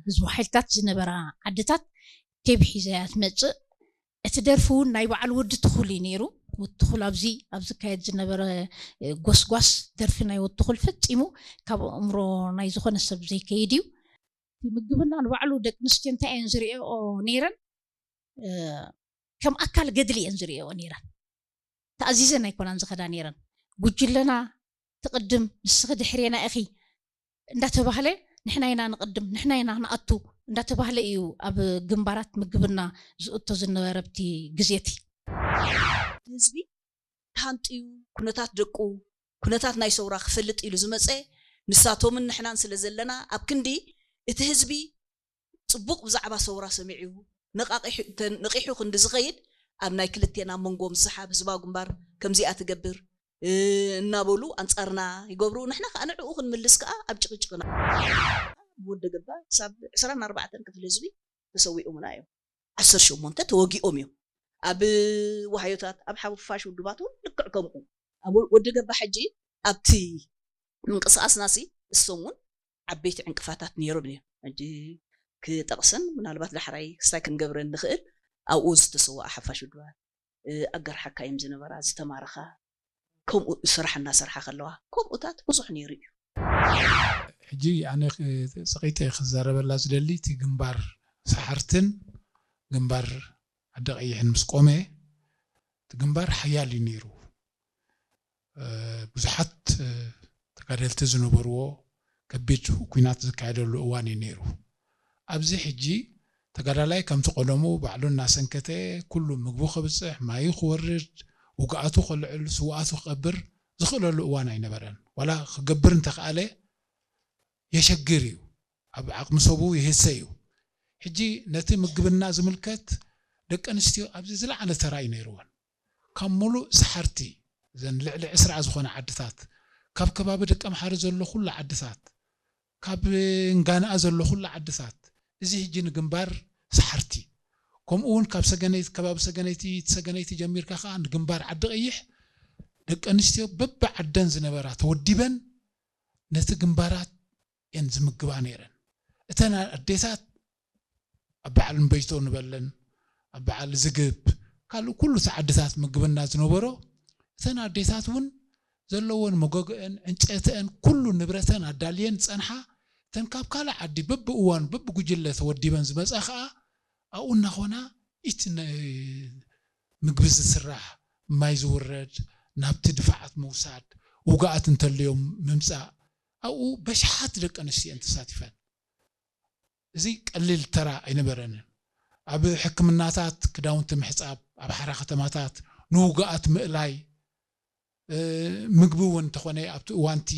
ህዝቡ ሓይልታት ዝነበራ ዓድታት ቴብ ሒዘ እያ ትመፅእ። እቲ ደርፊ እውን ናይ በዓል ወዲ ትኹል እዩ ነይሩ። ወዲ ትኹል ኣብዚ ኣብ ዝካየድ ዝነበረ ጎስጓስ ደርፊ ናይ ወዲ ትኹል ፈፂሙ ካብ ኣእምሮ ናይ ዝኾነ ሰብ ዘይከይድ እዩ። ምግብና ንባዕሉ ደቂ ኣንስትዮ እንታይ እየን ዝሪኦ ነይረን? ከም ኣካል ገድሊ እየን ዝሪኦ ነይረን። ተኣዚዘን ኣይኮናን ዝኸዳ ነይረን። ጉጅለና ትቕድም፣ ንስኺ ድሕሬና ኢኺ እንዳተባህለ፣ ንሕና ኢና ንቕድም፣ ንሕና ኢና ንኣቱ እንዳተባህለ እዩ ኣብ ግንባራት ምግብና ዝእቶ ዝነበረ ኣብቲ ግዜ እቲ። ህዝቢ ተሃንጥዩ፣ ኩነታት ደቁ፣ ኩነታት ናይ ሰውራ ክፈልጥ ኢሉ ዝመጸ፣ ንሳቶምን ንሕናን ስለ ዘለና፣ ኣብ ክንዲ እቲ ህዝቢ ጽቡቕ ብዛዕባ ሰውራ ሰሚዑ ነቓቒሑ ክንዲ ዝኸይድ፣ ኣብ ናይ ክልቴና መንጎ ምስሓብ፣ ህዝባዊ ግንባር ከምዚኣ ትገብር እናበሉ ኣንጻርና ይገብሩ። ንሕና ከኣ ንዕኡ ክንምልስ ከኣ ኣብ ጭቕጭቕና። ወዲ ገባ ክሳብ ዕስራን ኣርባዕተን ክፍሊ ህዝቢ ተሰዊኦምና እዮም። ዓሰርተ ሸሞንተ ተወጊኦም እዮም። ኣብ ዋህዮታት፣ ኣብ ሓፋሽ ውድባት እውን ልክዕ ከምኡ። ኣብ ወዲ ገባ ሕጂ ኣብቲ ምንቅስቃስናሲ እሶም እውን ዓበይቲ ዕንቅፋታት ነይሮም እዮም። ሕጂ ክጠቕሰን ምናልባት ዳሕራይ ክስታይ ክንገብረን ንኽእል ኣብኡ ዝተሰወኣ ሓፋሽ ውድባት ኣጋር ሓካይም ዝነበራ ዝተማረኻ ከምኡ ስራሕ እናሰርሓ ከለዋ ከምኡታት ብዙሕ ነይሩ እዩ። ሕጂ ኣነ ፀቂጠ ክዛረበላ ዝደሊ እቲ ግንባር ሰሓርትን ግንባር ዓዲ ቀይሕን ምስ ቆመ እቲ ግንባር ሓያል እዩ ነይሩ። ብዙሓት ተጋደልቲ ዝነበርዎ ከቢድ ኲናት ዝካየደሉ እዋን እዩ ነይሩ። ኣብዚ ሕጂ ተጋዳላይ ከምቲ ቀደሙ ባዕሉ እናሰንከተ ኩሉ ምግቡ ከብፅሕ፣ ማዩ ክወርድ፣ ውግኣቱ ከልዕል፣ ስውኣቱ ክቐብር ዝኽእለሉ እዋን ኣይነበረን። ዋላ ክገብር እንተኽኣለ የሸግር እዩ። ኣብ ዓቕሚ ሰቡ ይህሰ እዩ። ሕጂ ነቲ ምግብና ዝምልከት ደቂ ኣንስትዮ ኣብዚ ዝለዓለ ተራ እዩ ነይርወን። ካብ ሙሉእ ሰሓርቲ እዘን ልዕሊ ዕስራ ዝኾነ ዓድታት ካብ ከባቢ ደቀምሓረ ዘሎ ኩሉ ዓድታት ካብ እንጋንኣ ዘሎ ኩሉ ዓድታት እዚ ሕጂ ንግንባር ሰሓርቲ ከምኡ እውን ካብ ሰገነይቲ ከባቢ ሰገነይቲ ሰገነይቲ ጀሚርካ ከዓ ንግንባር ዓዲ ቀይሕ ደቂ ኣንስትዮ በቢ ዓደን ዝነበራ ተወዲበን ነቲ ግንባራት እየን ዝምግባ ነይረን። እተን ኣዴታት ኣብ በዓል እምበይቶ ንበለን ኣብ በዓል ዝግብ ካልእ ኩሉ እቲ ዓድታት ምግብና ዝነበሮ እተን ኣዴታት እውን ዘለወን መጎገአን ዕንጨተአን ኩሉ ንብረተን ኣዳልየን ዝፀንሓ እተን ካብ ካልእ ዓዲ በብእዋኑ በብጉጅለ ተወዲበን ዝመፃ ከዓ ኣብኡ እናኾና እቲ ምግቢ ዝስራሕ ማይ ዝውረድ ናብቲ ድፋዓት ምውሳድ ውግኣት እንተልዮም ምምፃእ ኣብኡ በሽሓት ደቂ ኣንስትዮ እየን ተሳቲፈን። እዚ ቀሊል ተራ ኣይነበረንን። ኣብ ሕክምናታት ክዳውንቲ ምሕፃብ፣ ኣብ ሓራ ከተማታት ንውጉኣት ምእላይ፣ ምግቢ እውን እንተኾነ ኣብቲ እዋንቲ